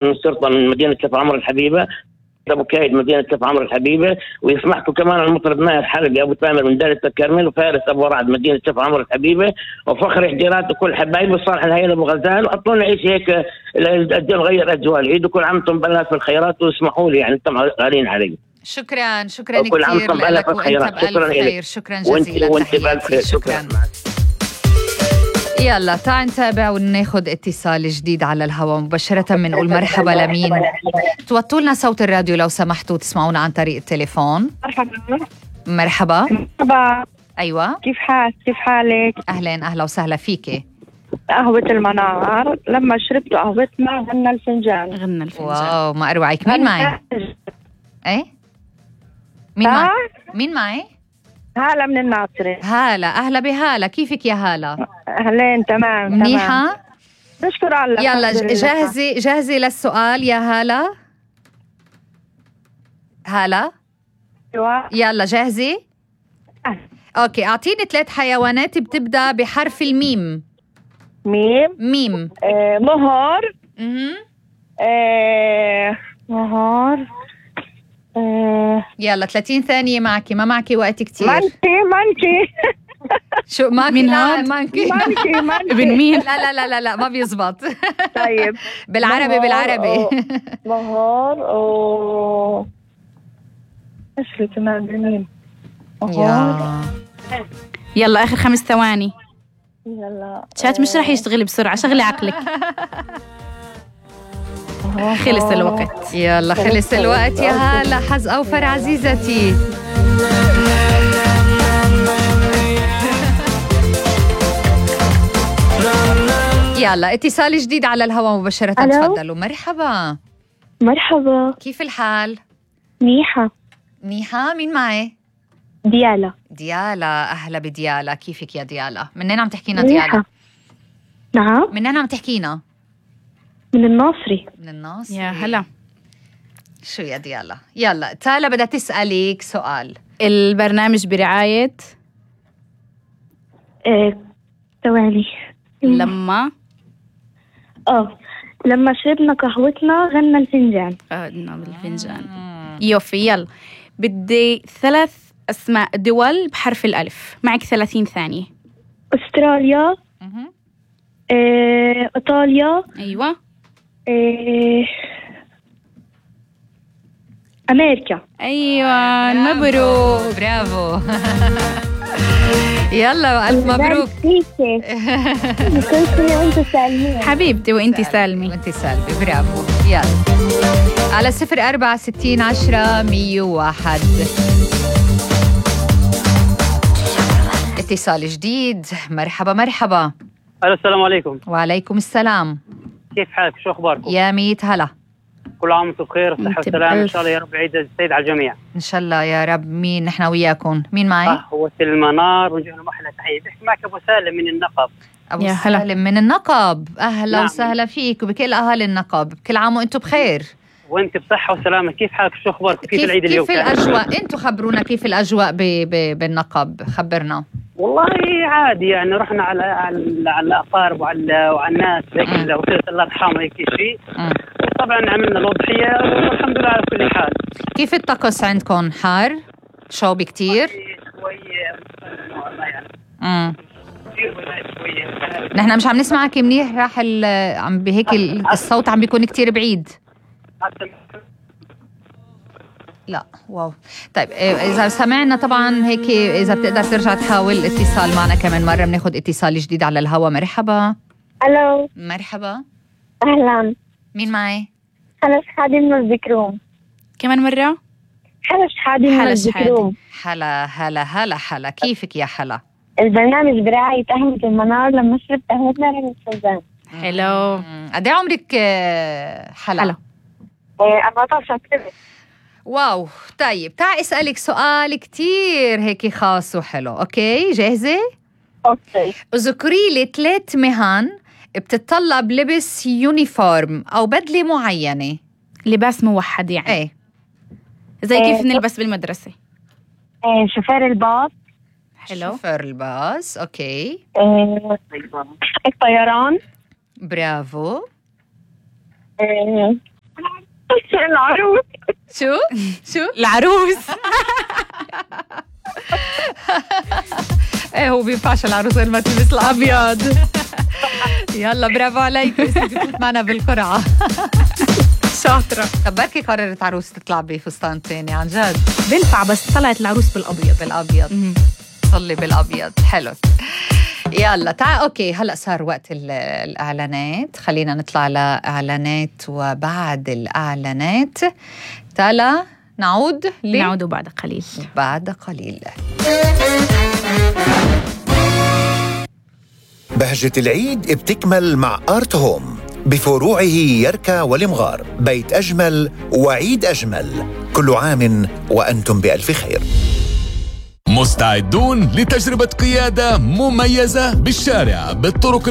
من الشرطة من مدينة كفر عمر الحبيبة، أبو كايد مدينة كفر عمر الحبيبة، ويسمحكم كمان المطرب نايف حلبي أبو تامر من دائرة الكرمل، وفارس أبو رعد مدينة كفر عمر الحبيبة، وفخر حجيرات وكل حبايبي، وصالح الهيئة أبو غزال، وأعطونا نعيش هيك نغير أجواء العيد، وكل عام وأنتم بألف بالخيرات، واسمحوا لي يعني أنتم غالين علي. شكرا كثير لك وأنت بألف خير. شكرا جزيلا، تحياتي. شكرا. يلا تعال نتابع وناخد اتصال جديد على الهواء مباشرة. بنقول مرحبا لمين؟ توطوا لنا صوت الراديو لو سمحتوا، تسمعونا عن طريق التليفون. مرحبا. أيوة، كيف حالك؟ أهلا وسهلا فيكي. قهوة المنار، لما شربت قهوتنا غنى الفنجان. واو، ما أروعك. مين معي؟ ايه مين معي؟ هالة من الناصرة. هالة، أهلا بهالة، كيفك يا هالة؟ أهلين، تمام منيحة؟ نشكر الله. يلا جاهزة للسؤال يا هالة؟ هالة؟ أيوة. يلا جاهزة؟ أوكي، أعطيني 3 حيوانات بتبدأ بحرف الميم. ميم. مهر. مهر. يلا 30 ثانية معك، ما معك وقت كتير. مانكي شو مانكي؟ مانكي ابن مين؟ لا ما بيزبط. طيب بالعربي مهر ايش اللي كمان بالميم؟ يلا آخر 5 ثواني. يلا شات مش رح يشتغل بسرعة، شغلي عقلك. خلص الوقت. يلا خلص الوقت يا هالة. حظ أوفر عزيزتي. يلا اتصال جديد على الهواء مباشرة. تفضلوا. مرحبا. كيف الحال؟ منيحة. مين معي؟ ديالا. أهلا بديالا، كيفك يا ديالا؟ منين عم تحكينا ديالا؟ نعم، منين عم تحكينا؟ من الناصري. يا هلا. شو يا ديالا؟ يلا تالا بدها تسألك سؤال. البرنامج برعاية ثواني. لما شربنا قهوتنا غنى الفنجان. بالفنجان. يوفي. يلا بدي 3 أسماء دول بحرف الألف، معك 30 ثانية. أستراليا. إيطاليا. أيوة. أمريكا. أيوة، مبروك. برافو. يلا ألف مبروك. حبيبتي وانتي سالمي. برافو. يلا على 04 60 10 101 اتصال جديد. مرحبا. السلام عليكم. وعليكم السلام. كيف حالك؟ شو أخباركم؟ يا ميت هلا. كل عام وانتم بخير والصحة والسلامة إن شاء الله يا رب. عيد السعيد على الجميع إن شاء الله يا رب. مين نحن وياكم؟ مين معي؟ قهوة المنار، ونجي لهم أحلى تحية. بحكي معك أبو سالم من النقب. أبو سالم من النقب، أهلا وسهلا فيك وبكل أهل النقب. كل عام وأنتم بخير. وأنت بصحة وسلامة. كيف حالك؟ شو أخبارك؟ كيف العيد اليوم؟ كيف الأجواء؟ أنتم خبرونا كيف الأجواء بالنقب، خبرنا. والله عادي يعني، رحنا على الأقارب وعلى الناس هيك وصلة الأرحام هيك شيء. طبعا عملنا الأضحية والحمد لله على كل حال. كيف الطقس عندكم؟ حار؟ شوب كتير؟ نحن مش عم نسمعك منيح، راح عم بهيك الصوت عم بيكون كتير بعيد. لا واو. طيب إذا سمعنا طبعا هيك، إذا بتقدر ترجع تحاول اتصال معنا كمان مرة. بناخد اتصال جديد على الهواء. مرحبا. ألو. مرحبا. أهلا. مين معي؟ حلا شحادي من الذكروم. كمان مرة. حلا شحادي من الذكروم. حلا. كيفك يا حلا؟ البرنامج برعاية قهوة المنار، لما شربت قهوتنا غنى الفنجان. حلو. قد ايه عمرك حلا؟ 14 سنة. واو. طيب تعال اسألك سؤال كتير هيك خاص وحلو. اوكي جاهزة؟ اوكي. اذكري لي 3 مهن بتتطلب لبس يونيفورم او بدلة معينة. لباس موحد يعني. ايه زي كيف نلبس بالمدرسة. شوفير الباص. حلو. شوفير الباص. اوكي. الطيران. برافو. العروس. شو؟ العروس. ايه هو بينفعش العروس غير ما تلبس الابيض. يلا برافو عليك، بتفوت معنا بالقرعه. شاطرة. طب بركي قررت عروس تطلع بفستان تاني عن جد بنفع، بس طلعت العروس بالابيض. صلي بالابيض. حلو. يلا تعال. اوكي هلا صار وقت الاعلانات، خلينا نطلع لاعلانات، وبعد الاعلانات تعال نعود بعد قليل. بهجة العيد بتكمل مع آرت هوم بفروعه يركا والمغار. بيت أجمل وعيد أجمل. كل عام وأنتم بألف خير. مستعدون لتجربة قيادة مميزة بالشارع بالطرق